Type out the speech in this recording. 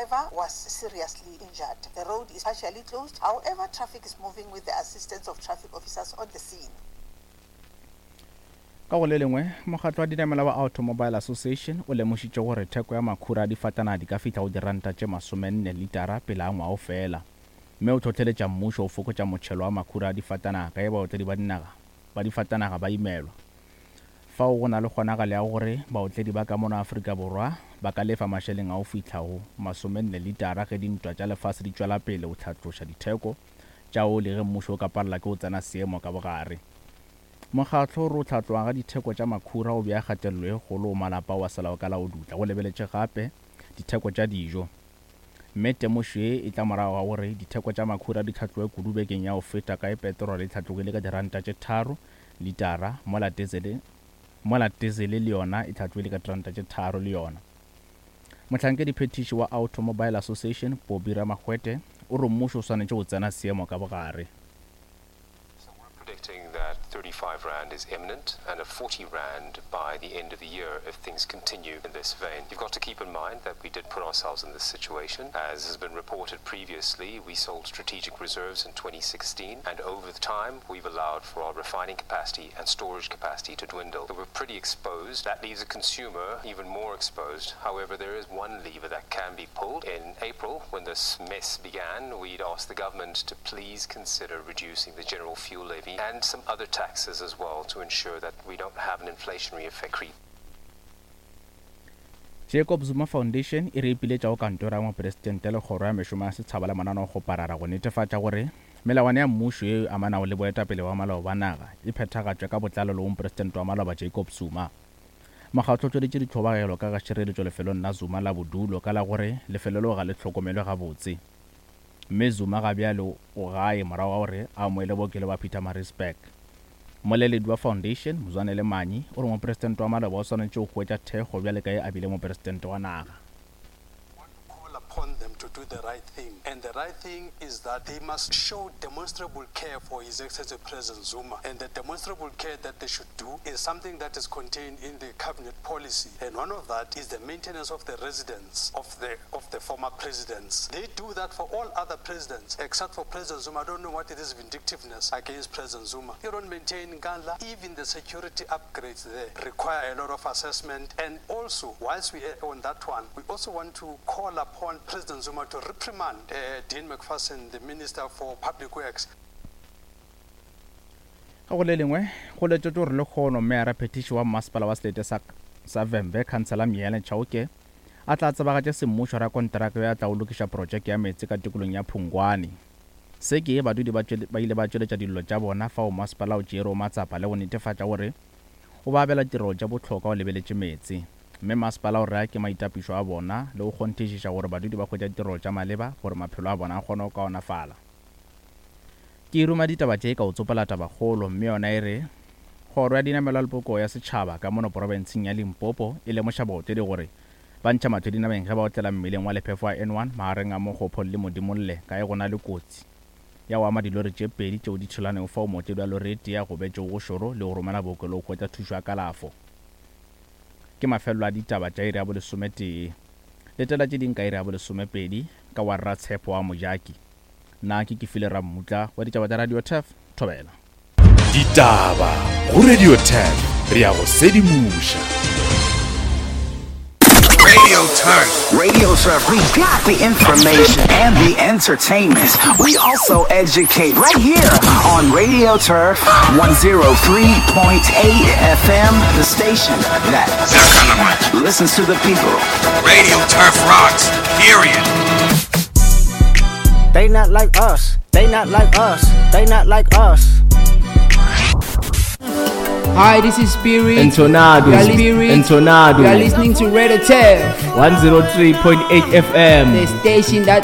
driver was seriously injured. The road is partially closed, however, traffic is moving with the assistance of traffic officers on the scene. Ka go le lengwe, mokgatlo wa dinamela wa Automobile Association o lemošitše gore theko ya makhura a difatanaga di ka fihla go diranta tše masomenne litara pele ga ngwaga o fela, mme o hlohleletša mmušo go fokotša motšhelo wa makhura a difatanaga ka ge baotledi ba dinaga ba difatanaga ba imelwa. Fao go na le kgonagalo ya gore baotledi ba ka mono Afrika Borwa ba ka lefa mašeleng a go fihla go masomenne litara ge dintwa tša lefase di tšwela pele go hlatloša ditheko tša oli ge mmušo o ka palela ke go tsena seemo ka bogare. Mokgatlo o re go hlatloga ga ditheko tša makhura go bea kgatelelo e kgolo go malapa ao a selago ka la go dutla go lebeletše gape ditheko tša dijo. Mme temošo ye e tla morago ga gore ditheko tša makhura di hlatloge kudu bekeng ya go feta ka ge peterole e hlatlogile ka diranta tše tharo litara mola tezele mola tezele le yona e hlatlogile ka diranta tše tharo le yona. Mohlankediphethiši wa Automobile Association, Bobby Ramagwete, o re mmušo o swanetše go tsena seemo ka bogare. So we're predicting that 35 rand is imminent and a 40 rand by the end of the year if things continue in this vein. You've got to keep in mind that we did put ourselves in this situation. As has been reported previously, we sold strategic reserves in 2016 and over the time we've allowed for our refining capacity and storage capacity to dwindle. So we're pretty exposed. That leaves a consumer even more exposed. However, there is one lever that can be pulled. In April, when this mess began, we'd asked the government to please consider reducing the general fuel levy and some other taxes as well to ensure that we don't have an inflationary effect creep. Jacob Zuma Foundation e re ipiletša go Kantoro ya Mopresidente le Kgoro ya Mešomo ya Setšhaba le Mananeokgoparara go netefatša gore melawana ya mmušo yeo e amanago le boetapele bwa maloba ba naga e phethagatšwe ka botlalo le go Mopresidente wa maloba Jacob Zuma. Mokgatlo o tšweleditše ditlhobagelo ka ga tšhireletšo lefelong la Zuma la bodulo ka la gore lefelo leo ga le hlokomelwe gabotse. Mme Zuma ga bjale o gae morago ga gore a amoele bookelo bja Pietermaritzburg. Mmoleledi wa Foundation, Mzwanele Manyi, o re mopresidente wa maloba o swanetše go hwetša thekgo bjale ka ge a bile mopresidente wa naga. want to call upon them to do the right thing and the right thing is that they must show demonstrable care for His Excellency President Zuma and the demonstrable care that they should do is something that is contained in the cabinet policy and one of that is the maintenance of the residence of the of the former presidents. They do that for all other presidents except for President Zuma. I don't know what it is vindictiveness against President Zuma. You don't maintain Nkandla. Even the security upgrades there require a lot of assessment. And also, whilst we are on that one, we also want to call upon President Zuma to reprimand uh, Dean McPherson, the Minister for Public Works. Ka go le lengwe, go letšetšwe gore lekgono Meyara Phethiši wa Mmasepala wa Selete sa sa Vhembe, Khansela Myele Chauke, a tla tsebagatše semmušo rakonteraka yo a tlago lokiša protšeke ya meetse ka tikolong ya Phungwane. Se ke, badudi ba ba ile ba tšweletša dillo tša bona fao masepala o tšeerego matsapa le go netefatša gore o ba abela tirelo tša bohlokwa o lebeletše meetse. Mme masepala o re a ke maitapišo a bona le go kgonthišiša gore badudi ba hwetša ditirelo tša maleba gore maphelo a bona a kgone go kaonafala. Ke ruma ditaba tše ka go tsopola tabakgolo mme yona e re, Kgoro ya Dinamelwa le Polokego ya Setšhaba ka mono porofenseng ya Limpopo e lemoša baotledi gore ba ntšha mahlo dinameng ge ba otlela mmileng wa lephefo wa N1 magareng a Mokgopho le Modimolle ka ge go na le kotsi ya go ama dilori tše pedi tšeo di thulanego fao mootledi wa lori e tee a gobetšego go šoro le go romela bookelong go hwetša thušo ya kalafo. Ke mafelelo a ditaba tša iri ya bolesometee. Letela tše ding ka iri ya bolesomepedi ka wa Rratshepo wa Mojaki. Nna ke Kefile Rammutla wa ditaba tša Radio Turf, Thobela. Ditaba go Radio Turf, re a go sedimoša. Radio Turf. Radio Turf, we got the information and the entertainment. We also educate right here on Radio Turf 103.8 FM, the station that listens to the people. Radio Turf rocks, period. They not like us. They not like us. They not like us. Hi, this is Spirit. Entonado. You are Spirit. Entonado. You are listening to Radio Turf, 103.8 FM. the station that